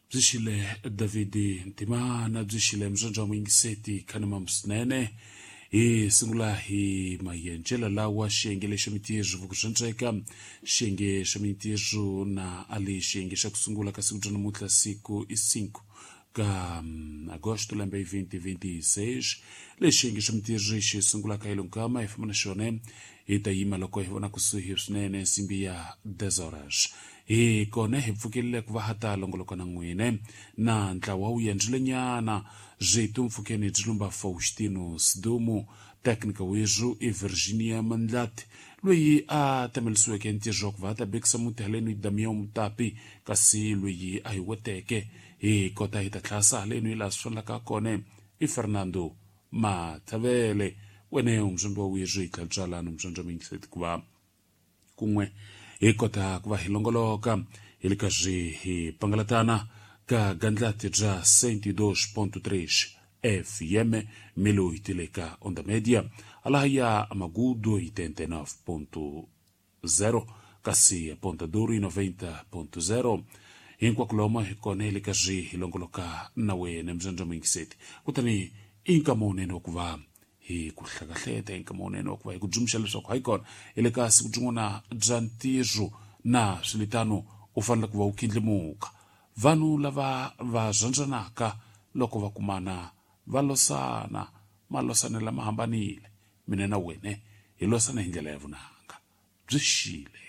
Byi xile David Ntimana, byi xile mzondza muyingiseti khanima swinene. Hi sungula hi mayenjelo lawa xiyenge lexo mintirho vukuxandzeka xiyenge xa mintirho na ali xiyenge xa ku sungula ka siku bya namuntlha, siku i 5 ka agosto lembe 2026. Lexi xiyenge xa mintirho xi sungulaka hi lonkama hi famba na xona, hi ta yima loko hi vona kusuhi swinene nsimbi ya 10 horas. Hi kona hi pfukile ku va ha ta longoloka na n'wine na ntlawa wu yendlilenyana byitu mpfukeni byi lumba Faustino Sidumu, teknika wezwu i Virginia Mandlati loyi a tamelisiweke ntirho wa ku va ta bekisa muti haleni Damian Mutapi, kasi loyi a hi weteke hi kota hi ta tlhasa haleni laha swi fanelaka kona i Fernando Mathavele. Wene umzombi wa wezwu hi tlhabyalani umzombi wa mingiseti ku va kun'we hi kota ku va hi longoloka hi le karhi hi pangalatana ka gandlati bya 102.3 FM milo hi tile ka Onda Media alaha ya Magudo 89.0, kasi Ponta Duro 90.0. Hinkwako lomo hi kona hi le karhi hi longoloka na wena mzondza muyingiseti, kutani i nkama wunene wa ku va hi ku hlakahleta, i nkama wunene wa ku va hi ku dzumxa leswaku hayi kona hi le ka siku byin'wana bya ntirho na swilitano u fanele ku va u kindlimuka. Vanhu lava va rhandzanaka loko va kumana va losana, malosana lama hambanile, mina na wena hi losana hi ndlela ya vunanga. Byi xile.